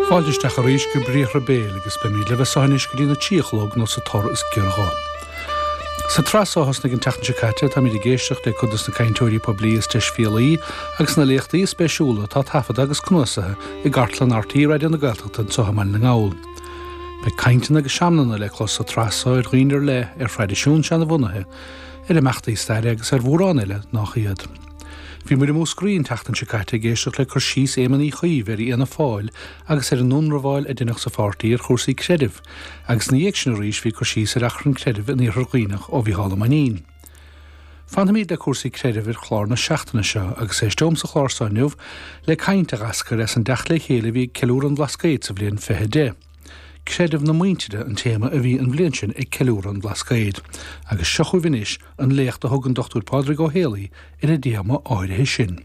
Fáilte isteach arís go Briathra Béil agus beimid libh as so anois go dtí na 3 a chlog nó sa tor is giorra dhó. Sa tsraith so a thosnaigh an tseachtain seo caite táimid ag éisteacht le cuid dos na cainteoirí poiblí is deisbhéalaí agus na léachtaí is spéisiúla atá taifeadta agus cnuasaithe i gcartlann RTÉ Raidió na Gaeltachta anseo i mBaile na nGall. Beidh cainteanna agus seamanna le clos sa tsraith so ar dhaoine ar leith, ar thraidisiún seanabhunaithe, ar imeachtaí staire agus ar mhórán eile nách iad. Bhí muid i Múscraí an tseachtain seo caite ag éisteacht le cur síos Éamoin Uí Chuív ar Fhianna Fáil agus ar an ionramháil a deineadh sa pháirtí ar chúrsaí creidimh agus ina dhiaidh sin arís bhí cur síos ar achrann creidimh in Iarthar Dhuibhneach ó Mhícheál Ó Mainnín. Fanfaimid le cúrsaí creidimh ar chlár na seachtaine seo agus éisteom sa chlár seo inniu le caint a dh'eascair as an dteacht le chéile a bhí ag ceiliúradh an Bhlascaoid sa bhliain 2010. Creideamh na muintire an téama a bhí an bhliain sin ag ceiliúradh an Bhlascaoid agus seo chugaibh anois an léacht a thug an Dr Pádraig Ó Héalaí ar an dtéama áirithe sin.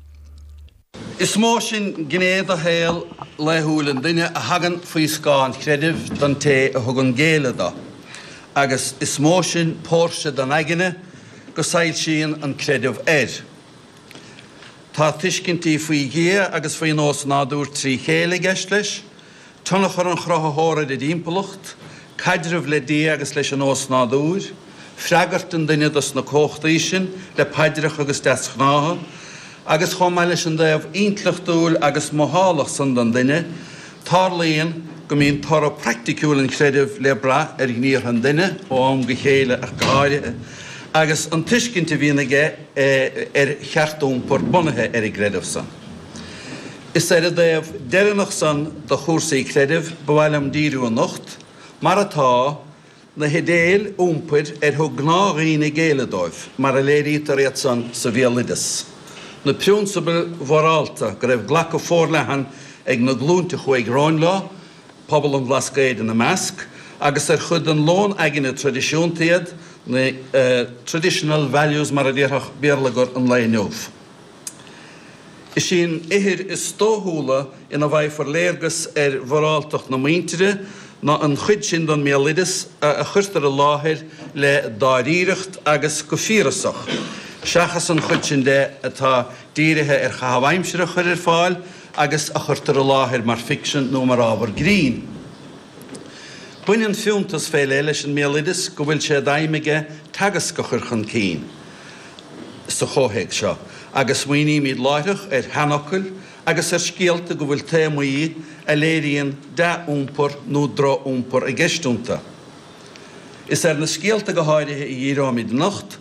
Is mó sin gné de shaol laethúil an duine a thagann faoi scáth an chreidimh don té a thugann géilleadh do, agus is mó sin póirse den aigne go soilsíonn an creideamh air. Tá tuiscintí faoi Dhia agus faoin ósnádúr trí chéile i gceist leis, tionchar an Chruthaitheora ar a dtimpeallacht, caidreamh le Dia agus leis an ósnádúr, freagairt an duine dos na comhachtaí sin le paidreacha agus deasghnátha, agus chomh maith leis an dtaobh intleachtúil agus mothálach san den duine, tarlaíonn go mbíonn toradh praiticiúil an chreidimh le brath ar ghníomhartha an duine, ó am go chéile ach go háirithe, agus an tuiscint a bhíonn aige ar cheart-iompar bunaithe ar an gcreideamh san. Is ar an dtaobh deireanach san de chúrsaí creidimh ba mhaith liom díriú anocht, mar atá, na hidéil iompair ar thug gnáthdhaoine géilleadh dóibh, mar a léirítear iad san sa bhéaloideas, na prionsabail mhorálta go raibh glacadh forleathan ag na glúinte a chuaigh romhainn leo, pobal an Bhlascaoid ina measc, agus ar chuid den lón aigne traidisiúnta iad, na traditional values mar a déarfadh béarlagair an lae inniu. Is í an ithir is dóchúla ina bhfaighfear léargas ar mhoráltacht na muintire ná an chuid sin den mbéaloideas a chuirtear i láthair le dáiríreacht agus go fíorasach, seachas an chuid sin de atá dírithe ar chaitheamh aimsire a chur ar fáil agus a chuirtear i láthair mar ficsean nó mar ábhar grinn. Baineann fiúntas fé leith leis an mbéaloideas go bhfuil sé d'aidhm aige teagasc a chur chun cinn. sa chomhthéacs seo, agus smaoinímid láithreach ar sheanfhocail agus ar scéalta go bhfuil téamaí a léiríonn dea-iompar nó droch-iompar i gceist iontu. Is ar na scéalta go háirithe a dhíreoimid anocht,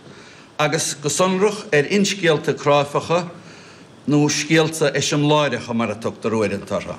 agus go sonrach ar fhinscéalta cráifeacha, nó scéalta eiseamláireacha mar a tugtar uaireanta orthu.